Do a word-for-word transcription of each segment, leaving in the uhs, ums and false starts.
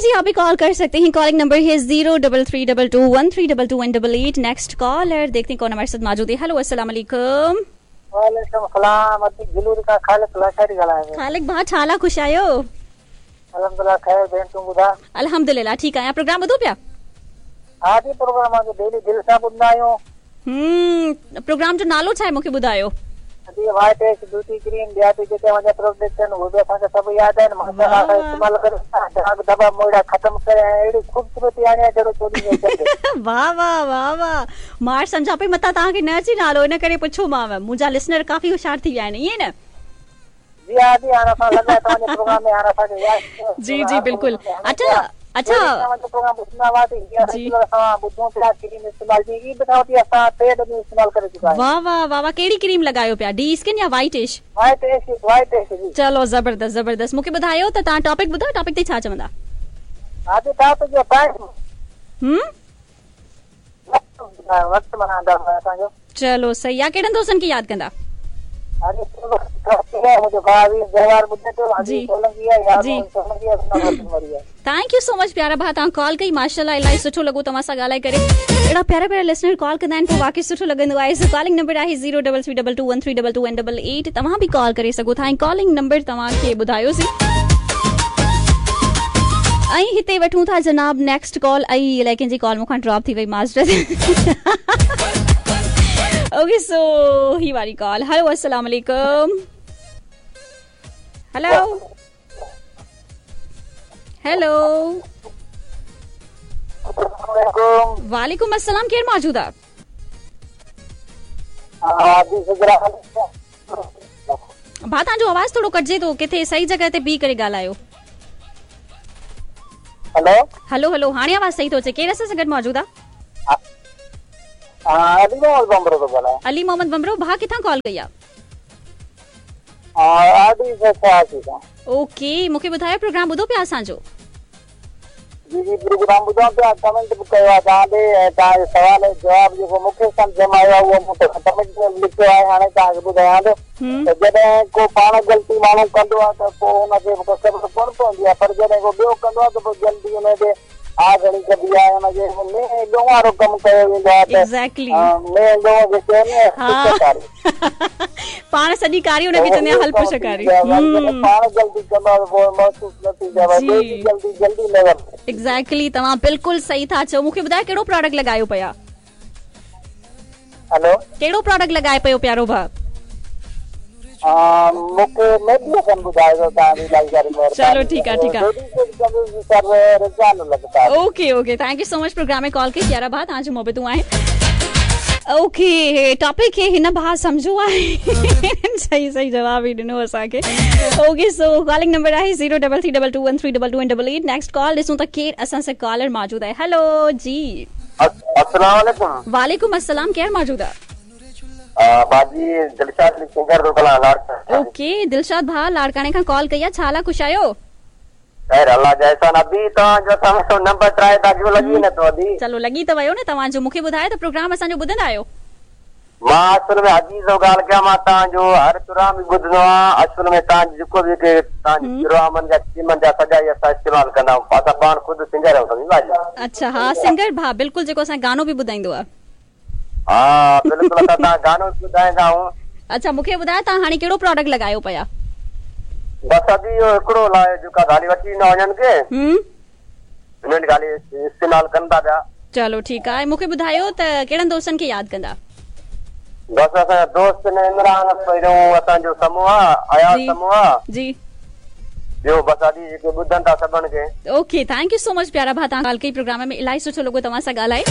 जी, आप भी कॉल कर सकते हैं। कॉलिंग नंबर है zero double three double two one three double two one double eight. Next caller देखते हैं कौन हमारे साथ मौजूद है। हेलो, अस्सलाम वालेकुम। वालेकुम सलाम। अदी गिलूर का खालिक लाशारी ॻाल्हायां। खालिक भाउ, छा हाल आहे? ख़ुशि आहियो? अल्हम्दुलिल्लाह ख़ैर। भेण तूं ॿुधाए? अल्हम्दुलिल्लाह ठीक आहियां। प्रोग्राम ॿुधो पिया? हा जी, प्रोग्राम असां डेली दिल सां ॿुधंदा आहियूं। हम्म, प्रोग्राम जो नालो छा आहे मूंखे ॿुधायो? अदी व्हाइट एश ब्यूटी क्रीम ॿिया बि जेके असांजा प्रोडक्ट आहिनि उहे बि असांखे सभु यादि आहिनि। माशाअल्लाह असां इस्तेमालु करे दाग धब्बा मोड़ा ख़त्म करे ऐं अहिड़ी ख़ूबसूरती आणी आहे जहिड़ो चोॾहीं में। वाह वाह वाह वाह, मां सम्झां पई मतां तव्हांखे न अचे नालो, इन करे पुछोमांव। मुंहिंजा लिसनर काफ़ी होशियार थी विया आहिनि, ईअं न? जी हा जी, हाणे असां लॻा तव्हांजे प्रोग्राम में हाणे असांखे यादि। जी जी बिल्कुलु। अच्छा अच्छा, प्रोग्राम ॿुधंदा हुआसीं, असां ॿुधूं पिया क्रीम इस्तेमाल जी ईद खां वठी असां टे दफ़ा इस्तेमाल करे चुका आहियूं। वाह वाह वाह वाह, कहिड़ी क्रीम लॻायो पिया, डी स्किन या white ash? White ash, white ash जी। चलो ज़बरदस्त ज़बरदस्त। मूंखे ॿुधायो त तव्हां टॉपिक ॿुधायो, टॉपिक ते छा चवंदा? हा जी, टॉपिक जो टाइम हम्म वक़्तु माना अंदाज़ो असांजो। चलो सही आहे। कहिड़नि दोस्तनि खे यादि कंदा? Thank you so much प्यारा भाउ, तव्हां कॉल कई, माशाल्लाह इलाही सुठो लॻो तव्हां सां ॻाल्हाए करे। अहिड़ा प्यारा प्यारा लिसनर कॉल कंदा आहिनि पोइ वाक़ई सुठो लॻंदो आहे। सो कॉलिंग नंबर आहे zero double three double two one three double two one double eight. तव्हां बि कॉल करे सघो था ऐं कॉलिंग नंबर तव्हांखे ॿुधायोसीं। ऐं हिते वठूं था जनाब नेक्स्ट कॉल। ऐं इलाए कंहिंजी कॉल मूंखां ड्रॉप थी वई, माज़रत। ओके, सो ही वारी कॉल। हेलो, अस्सलाम वालेकुम। हेलो हेलो, वालेकुम अस्सलाम। केरु मौजूद आहे? भाउ तव्हांजो आवाज़ थोरो कटिजे थो, किथे सही जॻह ते बीह करे ॻाल्हायो। हेलो हेलो हेलो, हाणे आवाज़ सही थो अचे। केरु असां सां गॾु मौजूद आहे? अली मोहम्मद बमरो थो ॻाल्हायां। अली मोहम्मद बमरो भाउ, किथां कॉल कई आहे? ओके, मूंखे ॿुधायो प्रोग्राम ॿुधो पिया असांजो? जी जी, प्रोग्राम ॿुधो पिया, कमेंट बि कयो आहे तव्हां ॾे ऐं तव्हांजे सवाल जो जवाबु जेको मूंखे सम्झ में आयो आहे उहो मूं कमेंट में लिखियो आहे, हाणे तव्हांखे ॿुधायां थो। त जॾहिं को पाण ग़लती माण्हू कंदो आहे त पोइ हुनखे ख़बर कोन पवंदी आहे, पर जॾहिं को ॿियो कंदो आहे त पोइ जल्दी हुनजे आ घणी कबी आहे, हुनजे में ॻो वारो कमु कयो वेंदो आहे त एग्जैक्टली में ॻो खे चवंदी आहे पाण सॼी कारी हुनखे चवंदी आहे हल पुछ कारी। पाण जल्दी कंदो आहे पोइ महसूसु न थींदो आहे, जल्दी जल्दी न। एग्जैक्टली, तव्हां बिल्कुलु सही था चओ। मूंखे ॿुधायो कहिड़ो प्रोडक्ट लॻायो पिया? हेलो, कहिड़ो प्रोडक्ट लॻाए पियो प्यारो भाउ? मूंखे मेडिसन ॿुधाइजो तव्हांजी इलाही सारी महिरबानी। चलो ठीक आहे, ठीक आहे। Okay okay, thank you so much programme में कॉल कई प्यारा भाउ, तव्हांजूं मोहबतूं आहिनि। ओके, टॉपिक खे हिन भाउ सम्झो आहे, सही सही जवाबु ई ॾिनो असांखे। ओके, सो कॉलिंग नंबर आहे zero double three double two one three double two double eight. Next call ॾिसूं त केरु असां सां कॉलर मौजूदु आहे। हेलो जी, अस्सलाम वालेकुम। वालेकुम अस्सलाम, केरु मौजूदु आहे? बाजी दिलशाद सिंगर थो ॻाल्हायां लाड़काणे। ओके दिलशाद भाउ, लाड़काणे खां कॉल कई आहे, छा हाल आहे? ख़ुशि आहियो? ख़ैर अल्लाह जा एहसान। अभी तव्हांजो असां नंबर ट्राई था कयूं, लॻी नथो अभी। चलो लॻी त वियो न तव्हांजो। मूंखे ॿुधायो त प्रोग्राम असांजो ॿुधंदा आहियो? मां असल में अजीज़ जो ॻाल्हि कयां, मां तव्हांजो हर प्रोग्राम बि ॿुधंदो आहियां। असल में तव्हांजो जेको बि तव्हांजे प्रोग्रामनि जा टीमनि जा सॼा ई असां इस्तेमालु कंदा आहियूं। असां पाण ख़ुदि सिंगर आहियूं, सम्झी भाॼी। अच्छा हा, सिंगर भाउ बिल्कुलु, जेको असां गानो बि ॿुधाईंदो आहे। हा बिल्कुलु, असां तव्हां गानो बि ॿुधाईंदा आहियूं। अच्छा, मूंखे ॿुधायो तव्हां हाणे कहिड़ो प्रोडक्ट लॻायो पिया? बसि अभी इहो हिकिड़ो लायो जेका ॻाल्हि वठी ईंदा वञनि खे, हुननि ॻाल्हि इस्तेमालु कनि था पिया। चलो ठीकु आहे। मूंखे ॿुधायो त कहिड़नि दोस्तनि खे यादि कंदा? बसि असांजा दोस्त आहिनि, इमरान पहिरियों असांजो समूह आहे, अयाज़ समूह आहे जी, ॿियो बसि अॼु जेके ॿुधनि था सभिनि खे। Okay, thank you so much प्यारा भाउ, तव्हां ॻाल्हि कई प्रोग्राम में, इलाही सुठो लॻो तव्हां सां ॻाल्हाए।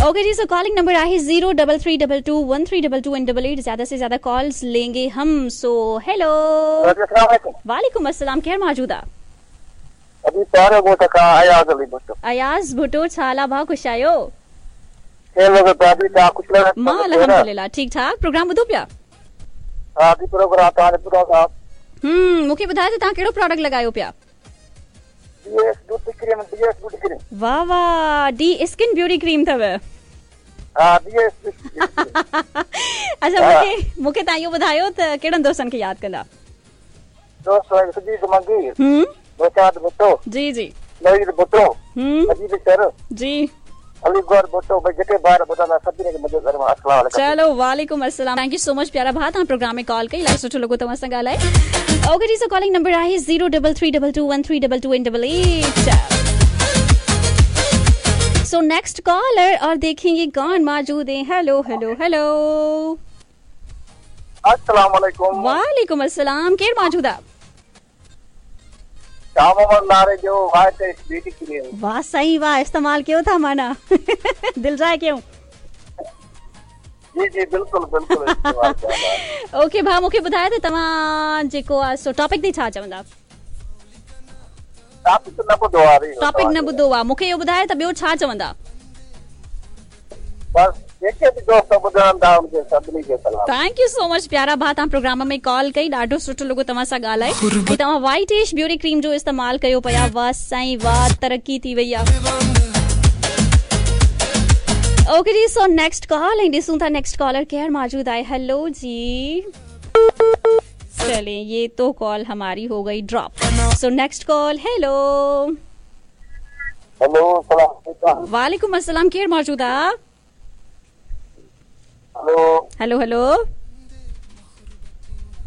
ओके जी, सो कॉलिंग नंबर आहे zero double three double two one three double two and double eight. ज्यादा से ज्यादा कॉल्स लेंगे हम। सो हेलो, वालेकुम अस्सलाम, केरु मौजूद आहे? अभी प्यारो ॻोठ खां अयाज़ अली भुट्टो। अयाज़ भुट्टो, छा हाल आहे भाउ? ख़ुशि आहियो? मां अल्हम्दुलिल्लाह ठीक ठाक। प्रोग्राम ॿुधो पिया? हा जी, प्रोग्राम तव्हां ॿुधो था। हम्म, मूंखे ॿुधायो त तव्हां कहिड़ो प्रोडक्ट लॻायो पिया? D S beauty cream, D S beauty cream. वाह वाह, डी स्किन ब्यूटी क्रीम अथव। हा, डीएस। अच्छा, मूंखे मूंखे तव्हां इहो ॿुधायो त कहिड़नि दोस्तनि खे यादि कंदा? दोस्त सुजीत मंगी, हम्म, बचात भुट्टो जी जी, नवीद भुट्टो, हम्म अजीत सर जी, अली गौर भुट्टो, भाई जेके ॿार ॿुधंदा सभिनी खे मुंहिंजे घर मां अस्सलाम वालेकुम। चलो वालेकुम अस्सलाम। Thank you so much प्यारा भाउ, तव्हां प्रोग्राम में कॉल कई, इलाही सुठो लॻो तव्हां सां ॻाल्हाए। ओके जी, सो कॉलिंग नंबर आहे zero double three double two one three double two and double eight. So next caller और देखेंगे कौन मौजूद है। हेलो हेलो हेलो, अस्सलाम वालेकुम। वालेकुम अस्सलाम। केरु मौजूद आहे? शाह मोहम्मद नारे जो वाइट ब्यूटी क्रीम। वाह सही, वाह इस्तेमाल कयो था माना दिल जाए क्यों? जी जी बिल्कुल बिल्कुल इस्तेमाल कयो। ओके भाउ, मूंखे ॿुधायो त तव्हां जेको आहे सो टॉपिक ते छा चवंदा? टॉपिक न ॿुधो आहे। टॉपिक न ॿुधो आहे, मूंखे इहो ॿुधायो त ॿियो छा चवंदा? बस जेके बि दोस्त ॿुधनि था उनखे सभिनी खे सलाम। Thank you so much प्यारा भाउ, तव्हां प्रोग्राम में कॉल कई, ॾाढो सुठो लॻो तव्हां सां ॻाल्हाए। ऐं तव्हां वाइट एश ब्यूटी क्रीम जो इस्तेमालु कयो पिया, वाह साईं वाह, तरक़ी थी वई आहे। ओके जी, सो नेक्स्ट कॉल ऐं ॾिसूं था नेक्स्ट कॉलर केरु मौजूद आहे। हेलो जी, चले ये तो कॉल हमारी हो गई drop. So next call, hello. Hello सलाम। वालेकुम अस्सलाम। केरु मौजूद आहे? हेलो हेलो हेलो,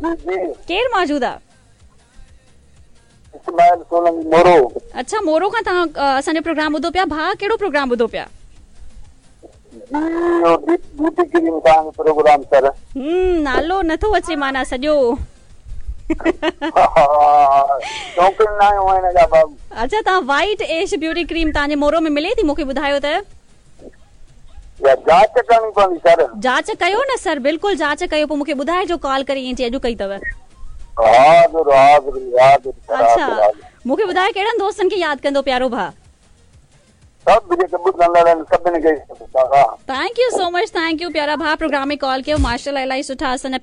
जी केरु मौजूद आहे? इस्माइल सोलंगी मोरो। अच्छा, मोरो खां तव्हां असांजो प्रोग्राम ॿुधो पिया। भाउ कहिड़ो प्रोग्राम ॿुधो पिया? जी ब्यूटी क्रीम तव्हांजो प्रोग्राम सर। हम्म, नालो नथो अचे माना सॼो। शौक़ीन न आहियूं हिन जा भाउ। अच्छा, तव्हां वाइट एश ब्यूटी क्रीम तव्हांजे मोरो में मिले थी? मूंखे ॿुधायो त। जांच करणी पवंदी सर। जांच कयो न सर, बिल्कुलु जांच कयो, पोइ मूंखे ॿुधाइजो कॉल करे ईअं चई अॼु कई अथव। हाज़िर हाज़िर हाज़िर। अच्छा, मूंखे ॿुधायो कहिड़नि दोस्तनि खे यादि कंदो प्यारो भाउ? सभु जेके ॿुधंदड़ आहिनि सभिनी खे। Thank you so much, thank you प्यारा भाउ, प्रोग्राम में कॉल कयो। माशाअल्लाह इलाही सुठा असांजा